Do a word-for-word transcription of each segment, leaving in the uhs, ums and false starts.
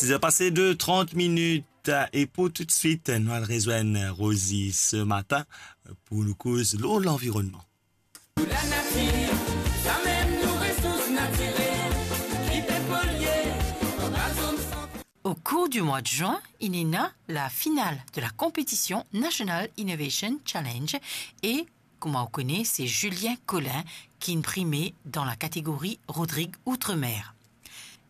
Siz er pase de trant minit, e pou toutswit, nou al rezwenn Rosie se matin pou nou koz lor lanvironnman. Pou lanatir, samem nou resours natirel, ki pe polye, anba zone centre. Au cours du mois de juin, il y a la finale de la compétition National Innovation Challenge et, kouma ou kone, se Julien Collin ki finn prime dan la kategori Rodrig Outre-mer.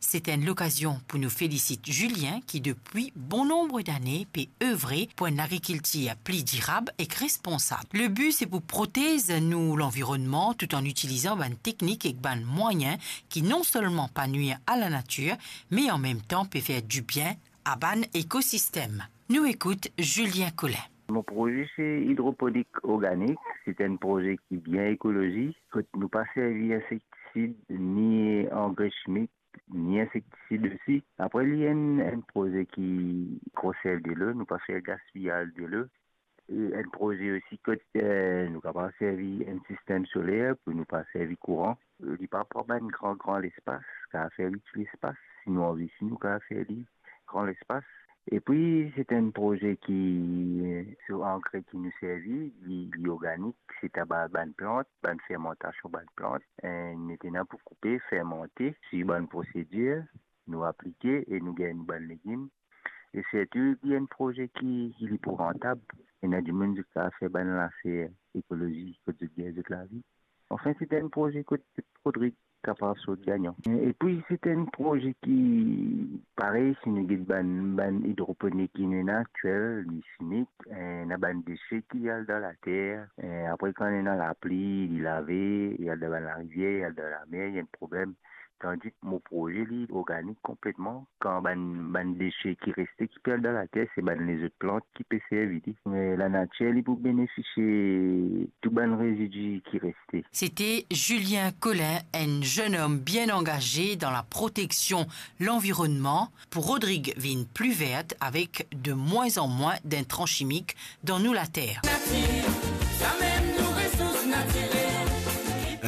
Se enn lokazion pou nou felisit Julien ki depi bon nonb dane pe evre pou enn agrikiltir pli dirab ek responsab. Le bi se pou protez nou lanvironnman tout an itilizan bann teknik ek bann mwayin ki non selman pa nwir a lanatir, me an mem tan pe fer dibien a bann ekosistem. Nou ekout Julien Collin. Mo proze se idroponik organik. Se enn proze ki bien ekolozik, kot nou pa servi insektisid ni angre chimik, ni insektisid osi. Apre, li enn, enn proze ki konserv delo, nou pa fer gaspiyaz delo. E enn proze osi kot, eh, nou kapav servi enn sistem soler pou nou pa servi kouran. Li pa pran bann gran, gran lespas, kapav fer li ti lespas. Si nou anvi, si nou kapav fer li gran lespas. Epi, se enn proze ki, eh, so angre ki nou servi, li, li organik, se taba bann plant, bann fermantasion bann plant. Eh, nou ena pou koupe, fermante, swiv bann prosedir, nou aplike e nou gagn nou bann legim. E sirtou, li enn proze ki, ki li pou rantab. Ena dimoun ki kapav fer bann lafer ekolozik, kot zot gagn zot lavi. Anfin, se enn proze kot Rodrig kapav sort gagnan. Epi, se enn proze ki, parey, si nou get bann, bann idroponik ki nou ena aktiel, li simik, eh, ena bann dese ki al dan later, eh, apre kan ena lapli, li lave, li al dan bann larivier, li al dan lamer, li enn problem. Tandis mo proze, li organik konpletman. Kan bann, bann dese ki reste ki pe al dan later, se bann lezot plant ki pe servi li. Me lanatir, li pou benefisie tou bann rezidi ki reste. Sete Julien Collin, enn zenn om bien angaze dan la proteksion lanvironnman, pou Rodrig vinn pli ver avek de mwin an mwin dintran simik dan nou later. Natir, samem nou resours natirel.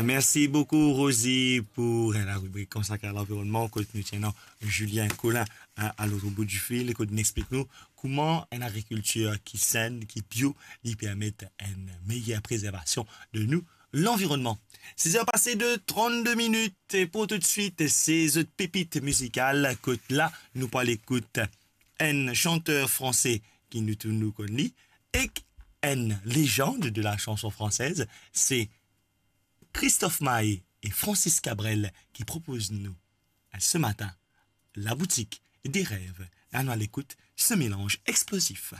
Mersi boukou, Rosie, pou la ribrik konsakre a lanvironnman, kot nou ti ena Julien Collin, a, a lot bout difil, kot li explik nou kouma enn agrikiltir ki senn, ki bio, li permet enn meyer prezervasion de nou lanvironnman. Siz er pase de trant-de minit, e pou toutswit, se zot pepit mizikal, kot la, nou pou al ekout enn santer franse ki nou tou nou konn li, ek enn lezand de la chanson française, se Christophe Maé e Francis Cabrel ki propoz nou, eh, se matin, La boutique des rêves. Anou al ekout se melanz explozif.